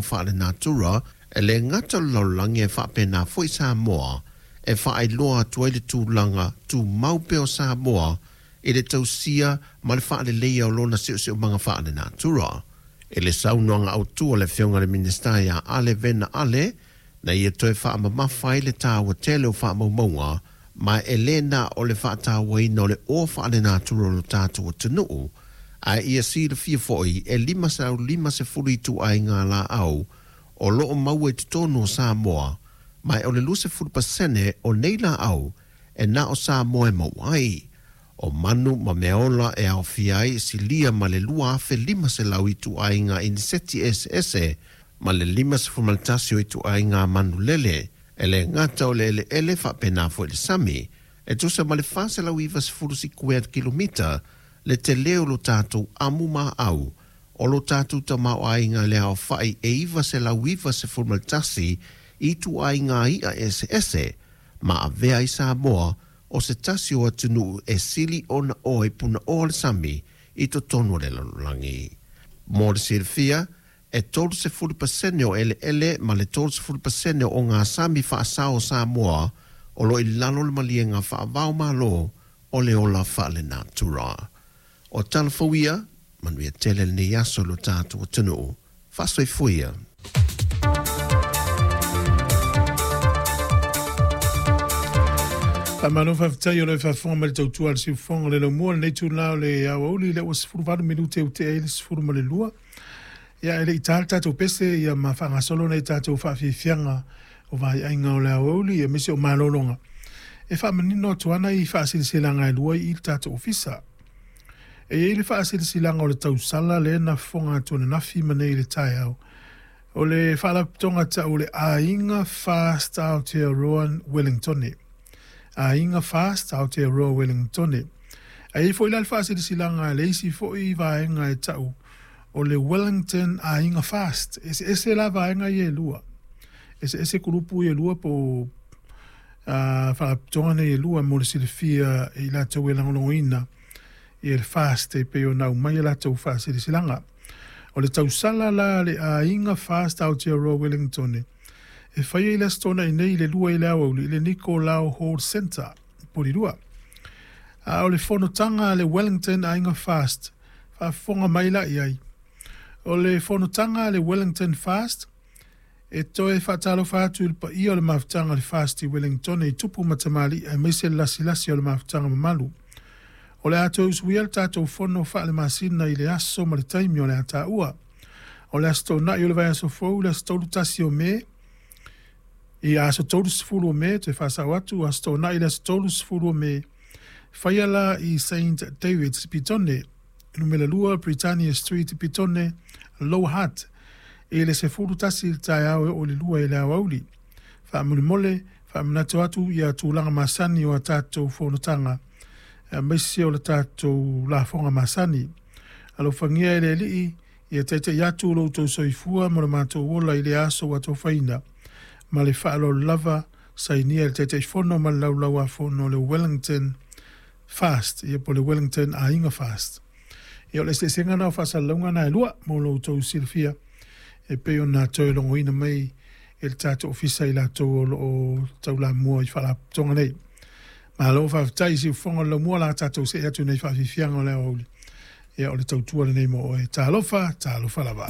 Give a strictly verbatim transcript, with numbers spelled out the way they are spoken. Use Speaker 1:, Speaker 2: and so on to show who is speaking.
Speaker 1: Faalenatura e lē gata o le lalolagi e faapena fo'i Samoa e faailoa atu ai le tulaga tumau pea o Samoa i le tausia ma le faaleleia o lona siosiomaga faalenatura. I le saunoaga autū a le Afioga i le Minisita ia Ale Vena Ale, na ia toe faamamafa ai le tāua tele o faamaumauga, ma e lē na o le faatauaina o le oa faalenatura o lo tatou atunuu, ae ia silafia fo'i e lima selau limasefulu ituaiga laau o loo maua i totonu o Samoa, ma e o le luasefulu pasene o nei laau e na o Samoa e maua ai. O manu ma meaola e aofia ai silia ma le lua afe lima selau ituaiga iniseti eseese ma le limasefulu ma le tasi o ituaiga manulele, e lē gata o le eleele faapena fo'i le sami e tusa ma le fa selau ivasefulu sikuea kilomita le telē o lo tatou amu maau o lo tatou tamaoaiga le aofa'i e iva selau ivasefulu ma le tasi ituaiga i'a eseese ma avea ai Samoa o se tasi o atunuu e sili ona oe punaoa le sami i totonu o le lalolagi. Mo le silafia, e tolu sefulu pasene o eleele ma le tolu sefulu pasene o ogasami faasao o Samoa o loo i lalo le maliega faavao malo o le ola faalenatura. O tala fou ia, manuia tele lenei aso lo tatou atunuu. Faasoifua.
Speaker 2: Faamalo faafetai o le faafofoga mai le tautua a le siufofoga o le laumua lenei itulā o le aoauli lea ua sefuluvalu minute ua tea ai le sefulu ma le lua. Ia e le i tā le tatou pese ia ma faagasolo nei tatou faafiafiaga o vaiaiga o le aoauli ia aemaise o malologa e faamanino atu ana i faasilasilaga e lua i le tatou ofisa. E i ai le faasilasilaga o le tausala lea na fofoga atu ananafi ma nei i le taeao o le faalapotopotoga tau o le Aiga Fast Aotearoa Wellingtone. Aiga Fast Aotearoa Wellingtone. Ae i ai foi la le faasilasilaga a le isi foi vaega e tau o le Wellington Aiga Fast. Eseese la vaega ia e lua. Eseese kulupu ia e lua po o faalapotopotoga nei e lua mo le silafia e i latou e lagolagoina ia le Fast e pei ona aumai a latou faasilasilaga. O le tausala la a le Aiga Fast Aotearoa Wellingtone e faia i le Aso Toonai nei i le lua i le aoauli i le Nikolao Hall Centre i Polilua. A o le fonotaga a le Wellington Aiga Fast, faafofoga mai la i ai. O le fonotaga a le Wellington Fast e toe faatalofa atu i le paia o le mafutaga o le Fast i Wellingtone i tupu ma tamalii aemaise le lasilasi o le mafutaga mamalu. O le a toe usuia le tatou fono faalemasina i le aso ma le taimi o le a taua. O le Aso Toonai o le vaiaso fou, le aso tolu tasi o Me, i aso tolusefulu o Me, toe faasao atu, Aso Toonai le aso tolusefulu o Me, faia la i Saint David's Petone, numera lua Britannia Street Petone, Lower Hutt, i le sefulu tasi i le taeao e oo i le lua i le aoauli. Faamolemole, faamanatu atu ia tulaga masani o a tatou fonotaga, aemaise o le tatou lafoga masani. Alofagia e le Alii ia taita'i atu lo outou soifua ma lo matou ola i le aso ua atofaina. Ma le faaaloalo lava, sainia e le Taitaifono ma le Laulau-a-Fono o le Wellington Fast, ia po o le Wellington Aiga Fast. Ia o le eseesega lena o faasalalauga na e lua mo lo outou silafia e pei ona toe logoina mai e le tatou ofisa i latou o loo taulamua i faalapotopotoga nei. Malo faafetai i siufofoga o le laumua la tatou see atu nei faafiafiaga o le aoauli. Ia o le tautua lenei mo oe. Talofa, talofa lava.